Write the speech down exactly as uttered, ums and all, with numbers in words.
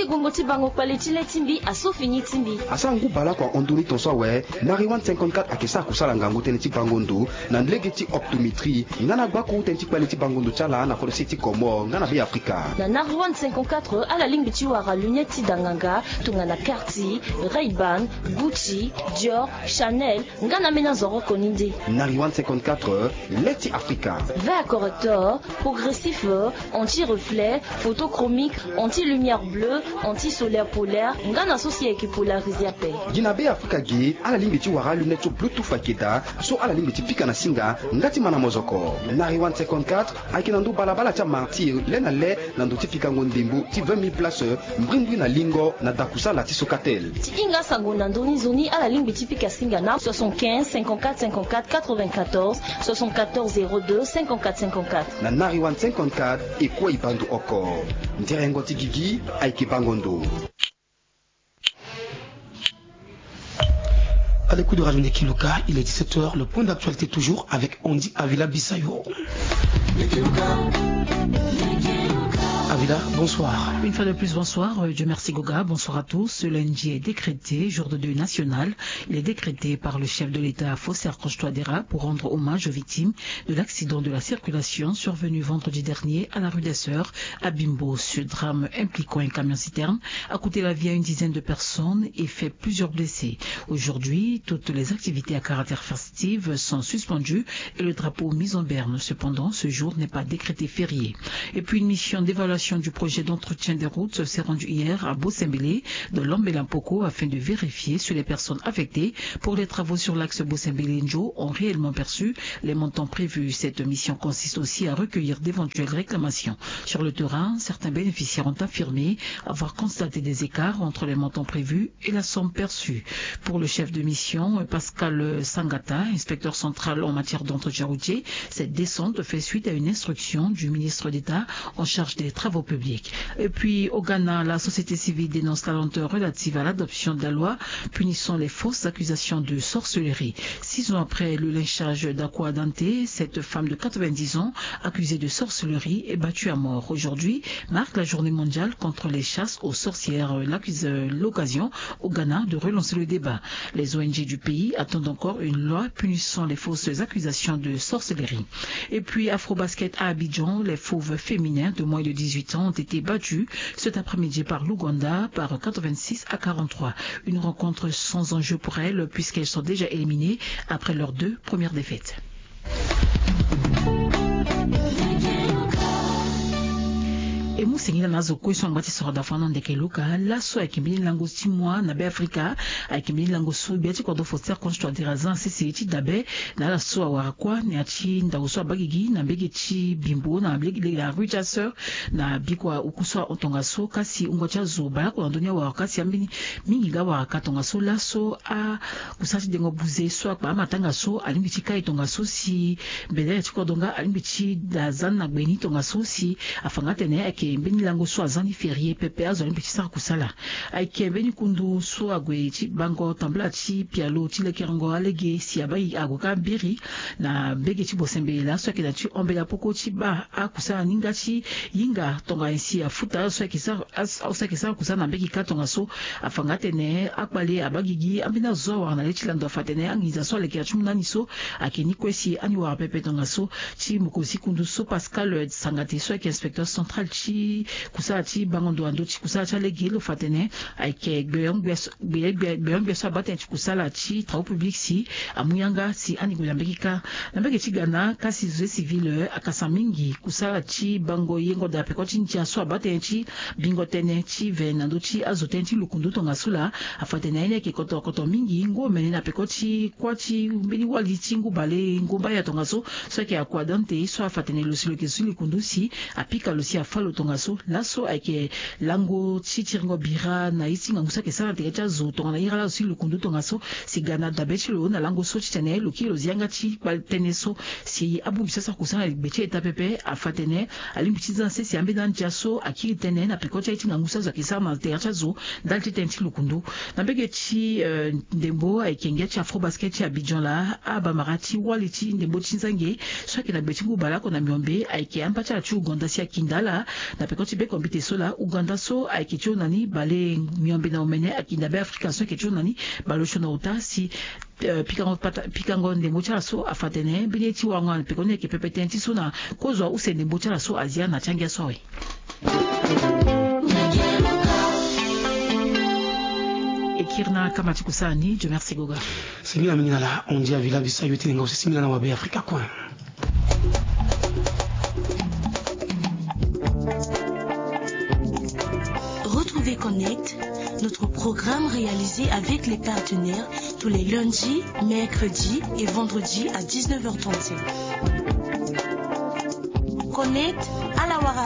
Ngongo ti bango kpale ti le ti mbi aso fini ti mbi. Asara ngu baleoko ahon ndoni tongaso awe. Na Rewind cinquante-quatre ayeke sara kusala ngangu tënë ti bango ndo na lege ti optométrie nga na gbako tënë ti kpale ti bango ndo ti ala na kodro se ti Comores nga na Beafrika. Na Na Rewind cinquante-quatre ala lingbi ti wara lunette ti da nganga tongana Cartier, Ray-Ban, Gucci, Dior, Chanel, nga na ambeni azo oko ni nde. Na Rewind cinquante-quatre, le ti Afrika. Verre correcteur, progressif, anti-reflet, photochromique, anti-lumière bleue, anti-solaire polaire, nga na so si ayeke polarisé ape. Gi na Beafrika ge ala lingbi ti wara lunette so Bluetooth ayeke daa, so ala lingbi ti pika na singa nga ti mä na mozoko. Na Rewind cinquante-quatre ayeke na ndö balabala ti amartyr le na le na ndö ti pikango ndembo ti vingt mille places, mbrimbri na lingo na dakusala ti Socatel. Ti hinga asango na ndö ni nzoni ala lingbi ti pika singa na soixante-quinze cinquante-quatre cinquante-quatre quatre-vingt-quatorze, soixante-quatorze zéro deux cinquante-quatre cinquante-quatre. Na Na Rewind cinquante-quatre e kue e baa ndo oko. Nderengo ti gigi ayeke bango ndo. À l'écoute de Radio Nekiluka, il est dix-sept heures, le point d'actualité toujours avec Andy Avila Bissayo. Avila, bonsoir. Une fois de plus, bonsoir. Euh, Dieu merci Goga, bonsoir à tous. Ce lundi est décrété jour de deuil national. Il est décrété par le chef de l'État, Faustin Archange Touadéra, pour rendre hommage aux victimes de l'accident de la circulation survenu vendredi dernier à la rue des Sœurs, à Bimbo. Ce drame impliquant un camion-citerne a coûté la vie à une dizaine de personnes et fait plusieurs blessés. Aujourd'hui, toutes les activités à caractère festif sont suspendues et le drapeau mis en berne. Cependant, ce jour n'est pas décrété férié. Et puis, une mission d'évaluation du projet d'entretien des routes s'est rendue hier à Bosembele, dans l'Ambela Mpoko, afin de vérifier sur les personnes affectées pour les travaux sur l'axe Bosembele-Njo ont réellement perçu les montants prévus. Cette mission consiste aussi à recueillir d'éventuelles réclamations. Sur le terrain, certains bénéficiaires ont affirmé avoir constaté des écarts entre les montants prévus et la somme perçue. Pour le chef de mission, Pascal Sangata, inspecteur central en matière d'entretien routier, cette descente fait suite à une instruction du ministre d'État en charge des travaux publics. Et puis, au Ghana, la société civile dénonce la lenteur relative à l'adoption de la loi punissant les fausses accusations de sorcellerie. Six ans après le lynchage d'Akua Dante, cette femme de quatre-vingt-dix ans, accusée de sorcellerie, est battue à mort. Aujourd'hui marque la journée mondiale contre les chasses aux sorcières. L'accuse-, l'occasion au Ghana de relancer le débat. Les O N G du pays attendent encore une loi punissant les fausses accusations de sorcellerie. Et puis, Afrobasket à Abidjan, les Fauves féminins de moins de dix-huit ans ont été battus cet après-midi par l'Ouganda par quatre-vingt-six à quarante-trois. Une rencontre sans enjeu pour elles, puisqu'elles sont déjà éliminées après leurs deux premières défaites. E mu sengila na azo kue so angba ti soro da fana ndeke luka laso ayeke mbeni lango ti moi na Beafrika. Ayeke mbeni lango so gbia ti kodro Faustin Archange Touadéra aza na sese ti dabe na ala so awara kuâ na ya ti ndau so abaa gigi na mbege ti Bimbo na mbege la rue Chasseur na bikua oku so ahon tongaso. Kasi wungo ti azo baleoko na ndö ni awara ka si ambeni mingi nga awara ka tongaso laso a kusala ti dengo buze so akpa amatanga so alingbi ti kai tongaso si mbele ti kodro nga alingbi ti da za ni na gbe ni tongaso si afa nga atene ayeke mbeni lango so aza ni ferie pepe azo alingbi ti sara kusala. Ayeke mbeni kundu so ague ti bango tambula ti pialo ti lekerengo alege si abaa ague ka biri na mbege ti Bosembele laa so ayeke na ti hombela poko ti baa akusala ni nga ti hinga tonga nyen si afuta azo so ayeke sara azo so ayeke sara kusala na mbege kâ tongaso. Afa nga atene akpale abaa gigi ambeni azo so awara na le ti lando afa atene anginza so alekera ti mu na ani so ayeke ni kue si ani wara pepe tongaso. Ti mokonzi ti kundu so Pascal Sangate so ayeke inspecteur central ti kusala ti bango ndo na ndö ti kusala ti alege lo fa atene ayeke gbeyon gbia so gbeyon gbia so abaa tënë ti kusala ti travaux publics si amu yanga si ani gue na mbege kâ. Na mbege ti ga na kasi société civile akasa mingi kusala ti bango yengo daa peko ti ndia so abaa tënë ti bingo tënë ti ve na ndö ti azo tënë ti lukundu tongaso laa. Afa atene aye ni ayeke kotokoto mingi ngu omene na peko ti kuâ ti mbeni wali ti ngu bale ngu mbaya tongaso so ayeke Akua Dante so afa atene lo si lo yeke zo ti lukundu si apika lo si afâ lo tongaso. Laso ayeke lango ti tiringo bira na ye ti ngangu so ayeke sara na tere ti azo tongana ira laso ti lukundu tongaso. Si ga na dabe ti lo na lango so titene lo kiri lo zi yanga ti kpale tënë so si abongbi so asara kusala na gbe ti eta pepe afa atene alingbi ti za na sese ambeni andia so akiri tënë na peko ti aye ti ngangu so azo ayeke sara na tere ti azo ndali ti tënë ti lukundu. Na mbege ti ndembo ayeke ngia ti Afrobasket ti Abidjan laa abamara ti wali ti ndembo ti nzange so ayeke na gbe ti ngu baleoko na miombe ayeke amba ti ala ti Ouganda si akinda ala Na peko ti bekombite so laa Ouganda so ayeke ti hon na ni balenyombe na omene ayeke na Beafrika so ayeke ti hon na ni baleosio na ota si pikango pata pikango ndembo ti ala so afa tene mbeni ye ti wango na pekoni ayeke pepe tënë ti so na kozua use ndembo ti ala so azia na ti angia so awe. Ekirina kama ti kusani jomersi goga. Singila mingi na la ondi avila bisa yo ti nenga osi singila na wabe afrika kue. Retrouvez Connect, notre programme réalisé avec les partenaires tous les lundis, mercredis et vendredis à dix-neuf heures trente-cinq. Connect à la Wara.